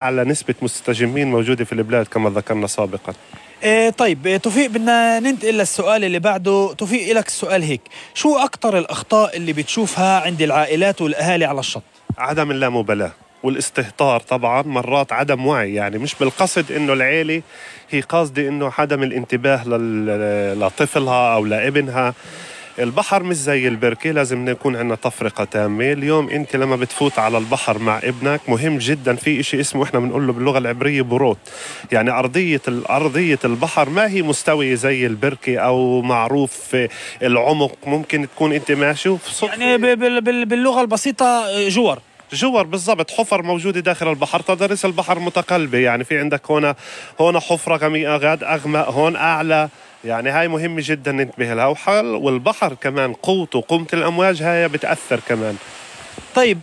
على نسبة مستجمين موجودة في البلاد كما ذكرنا سابقا. طيب توفيق، بدنا ننتقل للسؤال اللي بعده. توفيق، لك السؤال هيك: شو أكتر الأخطاء اللي بتشوفها عند العائلات والأهالي على الشط؟ عدم اللامبالاة والاستهتار، طبعا مرات عدم وعي، يعني مش بالقصد انه العيلة هي قاصدة انه عدم الانتباه لطفلها او لابنها. البحر مش زي البركة، لازم نكون عندنا تفرقة تامة. اليوم انت لما بتفوت على البحر مع ابنك مهم جدا في اشي اسمه احنا بنقول له باللغة العبرية بروت، يعني أرضية البحر ما هي مستوية زي البركة او معروف العمق. ممكن تكون انت ماشي يعني باللغة البسيطة جور بالضبط، حفر موجودة داخل البحر. تضاريس البحر متقلبة، يعني في عندك هنا حفرة غميقة، غاد أغمق، هون أعلى، يعني هاي مهمة جدا ننتبه لها. والبحر كمان قوة الأمواج هاي بتأثر كمان. طيب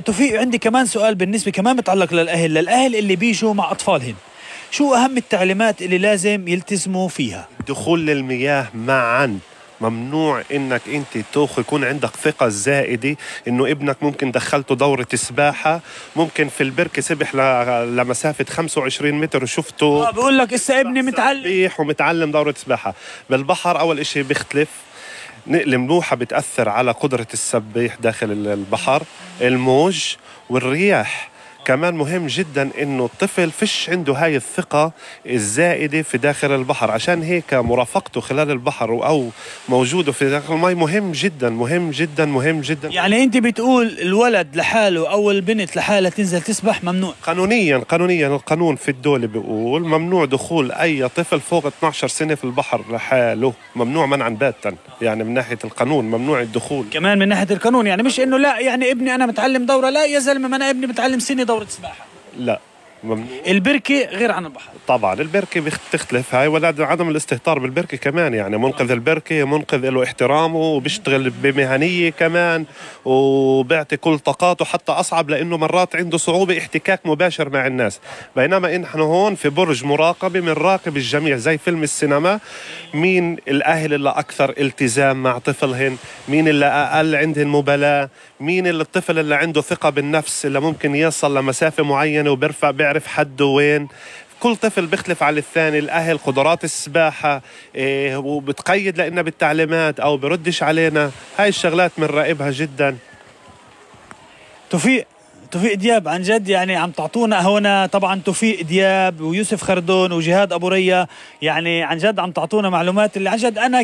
توفيق، عندي كمان سؤال بالنسبة كمان متعلق للأهل اللي بيجوا مع أطفالهم. شو أهم التعليمات اللي لازم يلتزموا فيها؟ دخول للمياه معا ممنوع. انك انت يكون عندك ثقة زائدة انه ابنك ممكن دخلته دورة سباحة، ممكن في البركة سبح لمسافة 25 متر وشفته بقول لك اسا ابني متعلم دورة سباحة. بالبحر اول اشي بيختلف، الملوحة بتأثر على قدرة السباح داخل البحر، الموج والرياح. كمان مهم جدا انه الطفل فيش عنده هاي الثقة الزائدة في داخل البحر، عشان هيك مرافقته خلال البحر او موجوده في داخل الماء مهم جدا مهم جدا مهم جدا. يعني انت بتقول الولد لحاله او البنت لحالها تنزل تسبح ممنوع؟ قانونيا القانون في الدولة بيقول ممنوع دخول اي طفل فوق 12 سنة في البحر لحاله، ممنوع منعا باتا. يعني من ناحية القانون ممنوع الدخول. كمان من ناحية القانون، يعني مش انه لا يعني ابني انا متعلم دورة، لا يا زلمة ما انا ابني متعلم سنة دورة سباحة. لا ممنوع. البركة غير عن البحر طبعا البركة بتختلف هاي، ولا عدم الاستهتار بالبركة كمان. يعني منقذ البركة منقذ له احترامه وبيشتغل بمهنية كمان وبيعطي كل طاقاته حتى أصعب، لأنه مرات عنده صعوبة احتكاك مباشر مع الناس. بينما نحن هون في برج مراقبة بنراقب الجميع زي فيلم السينما. مين الأهل اللي أكثر التزام مع طفلهن، مين اللي أقل عندهم مبالاة، مين اللي الطفل اللي عنده ثقة بالنفس اللي ممكن يصل لمسافة معينة بيعرف حده وين. كل طفل بيختلف على الثاني. الأهل قدرات السباحة وبتقيد لنا بالتعليمات أو بردش علينا، هاي الشغلات بنراقبها جدا. توفيق دياب، عن جد يعني عم تعطونا هنا، طبعا توفيق دياب ويوسف خردون وجهاد أبو ريا، يعني عن جد عم تعطونا معلومات اللي عن جد أنا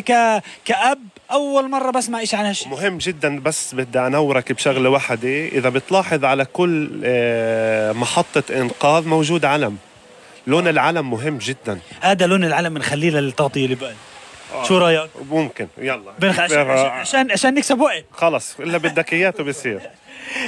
كأب أول مرة بسمع إيش عن هالشيء. مهم جدا. بس بدي أنورك بشغلة واحدة، إذا بتلاحظ على كل محطة إنقاذ موجود علم. لون العلم مهم جدا. هذا لون العلم بنخليه للتغطية اللي بقى. شو رأيك؟ ممكن يلا عشان نكسب وقت. خلص إلا بدك إياته بيصير.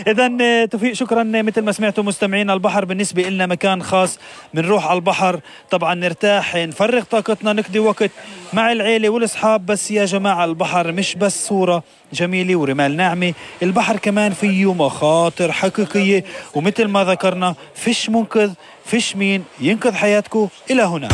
إذن توفيق شكرا. مثل ما سمعتوا مستمعين، البحر بالنسبة لنا مكان خاص. بنروح على البحر طبعا نرتاح، نفرغ طاقتنا، نقضي وقت مع العيلة والأصحاب. بس يا جماعة البحر مش بس صورة جميلة ورمال ناعمة، البحر كمان فيه مخاطر حقيقية. ومثل ما ذكرنا فيش منقذ، فيش مين ينقذ حياتكم. إلى هنا.